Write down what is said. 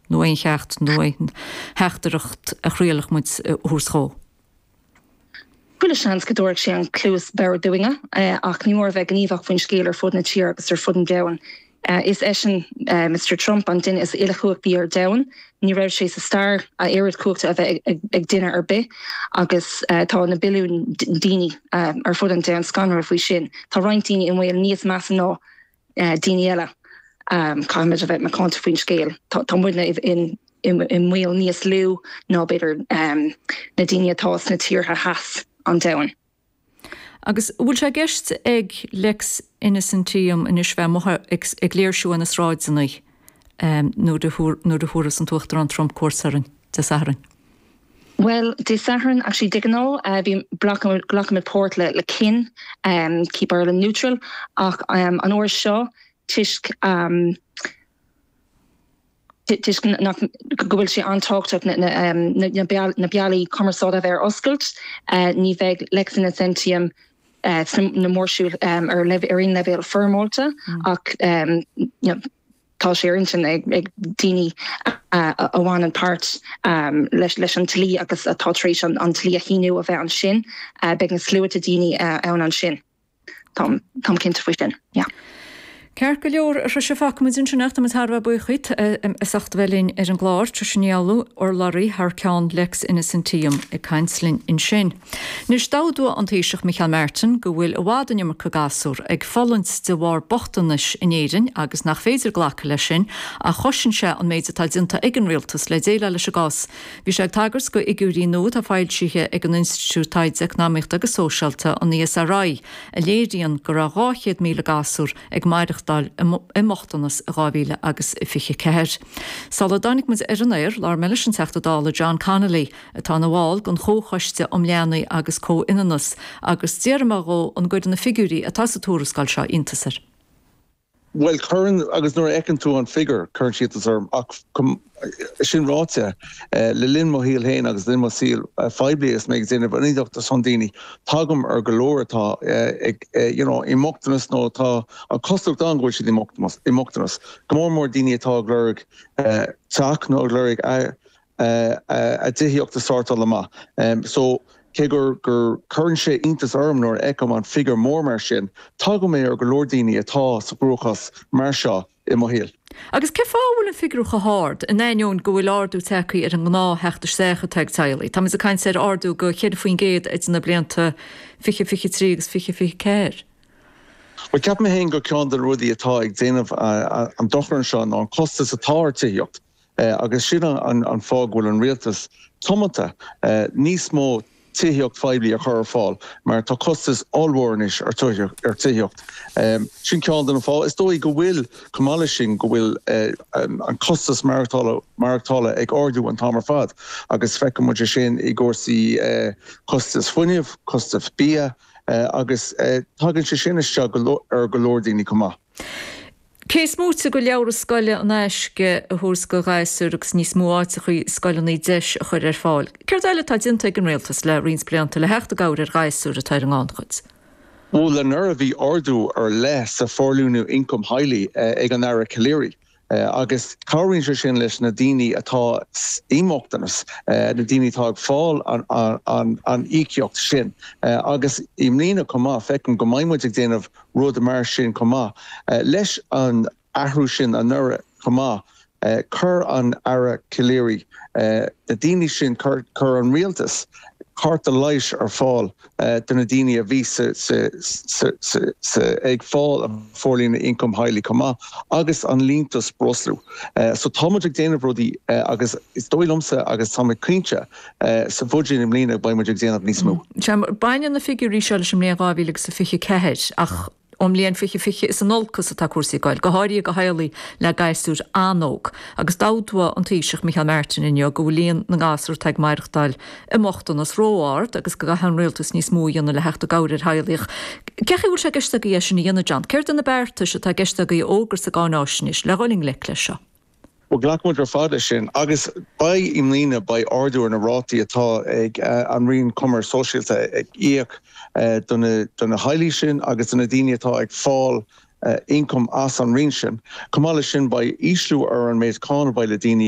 nó aon cheacht nó aon theachtaireacht a chraolfadh muid a thabhairt dhó? Chuile sheans go dtabharfadh sé an cluas bhodhar dúinne, ach ní mór a bheith gníomhach faoin scéal ar fud na tíre agus ar fud an domhain. Is eisean, Mister Trump, an duine is uilechumhachtaí ar domhan. Ní raibh sé sa stair a oiread cumhachta a bheith ag duine ar bith agus tá na billiúin daoine ar fud an domhain scanraithe faoi sin. Tá roinnt daoine i mbaol níos measa ná daoine eile. Caithfimid a bheith macánta faoin scéal. Tá muidne i mbaol níos lú ná b'fhéidir na daoine atá sna tíortha theas an domhain. Agus an bhfuil sé i gceist ag Lex Innocentium anois bheith amuigh ag léirsiú ar na sráideanna nuair a thabharfas an tUachtarán Trump cuairt orainn Dé Sathairn? Bhuel, Dé Sathairn, actually, de ghnáth bhí, glacaimid páirt le le KIN, Keep Ireland Neutral, ach an uair seo toisc toisc nach go bhfuil sé an-tábhachtach na bealaí cumarsáide a bheith ar oscailt, ní bheidh Lex Innocentium sna mórshiúil ar aon leibhéal foirmeálta ach tá sé ar intinn ag daoine a bhaineann páirt leis an dlí agus atá tar éis an dlí a shíniú a bheith ansin. Beidh na sluaite daoine ann ansin. Táim cinnte faoi sin, yeah. Ceart go leor, a Thrisha, fágfaidh muid ansin é ach tá muid thar a bheith buíoch díot as ucht a bheith linn ar an gclár. Trisha Ní Fhoghlú, urlabhraí thar ceann Lex Innocentium ag caint linn ansin. Anois, d'admhaigh an Taoiseach Micheál Martin go bhfuil i bhfad an iomarca gasúr ag fulaingt de bharr bochtanais in Éirinn agus nach féidir glacadh leis sin ach chosain sé an méid atá déanta ag an rialtas le déileáil leis an gcás. Bhí sé ag tagairt go fhigiúirí nua atá foilsithe ag an Institiúid Taighde Eacnamaíochta agus Sóisialta, an ESRI, a léiríonn go raibh 200,000 gasúr ag maireachtáil i mbochtanas i 2024. Sula dtáinig muid ar an aer, labhair mé leis an Teachta Dála John Connolly, atá ina bhall den Chomhchoiste um Leanaí agus Comhionannas, agus d'fhiafraigh mé dhó an gcuireann na figiúirí atá sa tuarascáil seo iontas air. Bhuel, cuireann, agus nuair a fheiceann tú an figiúr, cuireann sé iontas orm. Ach sin ráite, le linn mo shaoil féin agus le linn mo saoil phoiblí agus mé ag déanamh ionadaíocht ar son daoine, tagaim ar go leor atá ag, you know, i mbochtanas nó tá an chosúlacht ann go bhfuil siad i mbochtanas. Go mór mór daoine atá ag lorg teach nó ag lorg a dtithíocht a shórtáil amach. So, cé gur gur cuireann sé iontas orm nuair a fheicim an figiúr mór mar sin, tagaim ar go leor daoine atá sa gcruachás mar seo i mo shaol. Agus cén fáth a bhfuil an figiúr chomh hard, in ainneoin go bhfuil ardú tagtha ar an ngnáth-theacht isteach atá ag teaghlaigh? Táimid ag caint ar ardú go 4% idir na blianta 2023 agus 2024. Bhuel, ceapaim féin gur ceann de na rudaí atá ag déanamh an dochar anseo ná an costas atá ar tithíocht. Agus sin an fáth go bhfuil an rialtas tiomanta níos mó tithíocht phoiblí a chur ar fáil, mar tá costas ollmhór anois ar tithíocht. Sin ceann de na fáthanna. Is dóigh go bhfuil, chomh maith leis sin, go bhfuil an costas maireachtála ag ardú an t-am ar fad agus feiceann muid é sin i gcúrsaí costas fuinnimh, costas bia agus tagann sé sin isteach ar go leor daoine chomh maith. Cé is móite de leabhra scoile in aisce a thabhairt do ghasúir agus níos mó áiteachaí i scoileanna deis a chur ar fáil, céard eile atá déanta ag an Rialtas le roinnt blianta le theacht i gcabhair ar ghasúir atá ar an ngannchuid? Bhuel, anuraidh bhí ardú ar leith sa Forlíonadh Ioncaim Theaghlaigh ag an Aire Calleary agus cabhraíonn sé sin leis na daoine atá i mbochtanas, na daoine atá ag fáil an íocaíocht sin. Agus i mbliana chomh maith, feicim go mbeidh muid ag déanamh rud mar sin chomh maith. Leis an athrú sin anuraidh chomh maith, chuir an Aire Calleary na daoine sin, chuir an rialtas cárta leighis ar fáil do na daoine a bhí ag fáil an Forlíonadh Ioncaim Theaghlaigh chomh maith agus an liúntas breosla. So tá muid ag déanamh rudaí agus is dóigh liomsa agus tá mé cinnte Sa bhuiséad i mbliana beidh muid ag déanamh níos mó. Sea, baineann na figiúirí seo leis an mbliain 2024 ach ón mbliain 2020 is in olcas atá cúrsaí ag goil, go háirithe do theaghlaigh le gasúir an-óg. Agus d'admhaigh an Taoiseach Micheál Martin inniu go bhfuil líon na ngasúr atá ag maireachtáil i mbochtanas ró-ard agus go gcaithfidh an rialtas níos mó a dhéanamh le theacht i gcabhair ar theaghlaigh. Cén chaoi a bhfuil sé i gceist agaibh é sin a dhéanamh, John? Céard iad na beartais atá i gceist agaibh a fhógairt sa gcáináisnéis le dhul i ngleic leis seo? Bhuel, glacann muid ar fad leis sin agus beidh i mbliana, beidh ardú ar na rátaí atá ag an Roinn Coimirce Sóisialta ag íoc do na teaghlaigh sin agus do na daoine atá ag fáil ioncam as an Roinn sin. Chomh maith leis sin, beidh ísliú ar an méid cáin a bheidh le daoine.